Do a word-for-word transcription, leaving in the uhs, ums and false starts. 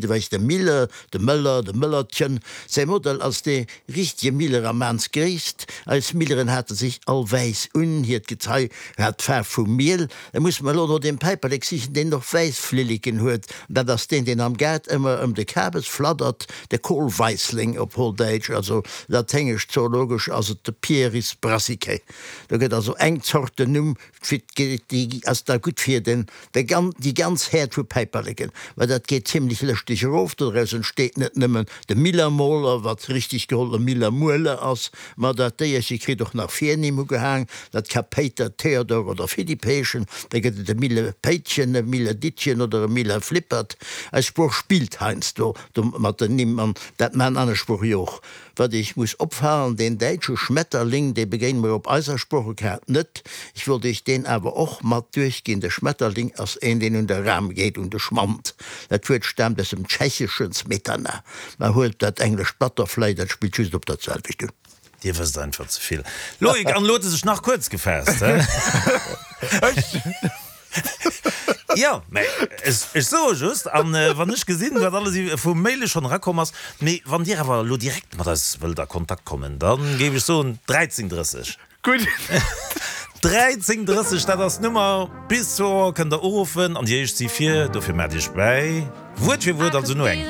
Ewéi de Miller, de Mëller, de Mëllertchen. Säi Modell ass dee richtege Miller a Maansgréisst. Eis Milleren hate sech all wäiss un, hiert Gezei hat d'Faarf vum Miel. Da musse mer elo no deem Päiperlek sichen, deen och wäiss Flilleken huet. Dat ass deen, deen am Gaart ëmmer ëm de Kabes fladdert, de Kohlweissling op Holdäitsch, also laténgesch zoologesch ass et de Pieris brassicae. Do gëtt also eng Zort den Numm. Déi ass da gutt fir den, déi ganz Häerd vu Päiperleken, well dat geet zimlech lëschteg erof. Doraus entsteet net nëmmen de Millermoler, wat richteg geholl e Millermueler ass, ma dat Déierche kritt och nach Virnimm ugehaang, dat ka Péiter, Theodor oder Philipp heeschen. Da gëtt et e Millepéitchen, e Milledittchen oder e Millerflippert. Eis Sprooch spillt heiansdo mat den Nimm an dat maachen aner Sprooche jo och. Wat Iech muss opfalen, deen däitsche Schmetterling, dee begéine mer op eiser Sproochekaart net. Ech wollt Iech deen awer och mat duerchginn. De Schmetterling ass een, deen un de Ram geet, un de Schmand. Dat Wuert staamt aus dem Tschecheschen smetana. Mä huelt dat englescht butterfly, dat spillt just op dat selwecht un. Dir wësst einfach ze vill. Loïc, an elo huet e sech nach kuerz gefaasst, he? Ech? Jo, mä ech soe just, an wann ech gesinn, wat alles vu Maile schonn erakomm ass. Mee wann Dir awer elo direkt mat eis wëllt a Kontakt kommen, da géif ech soen, dräizéng drësseg. Gutt. Dräizéng drësseg, dat ass d'Nummer. Bis zwou Auer kënnt Der uruffen an déi éischt si vir. Dofir maacht Iech bäi. Wuert fir Wuert, also no eng.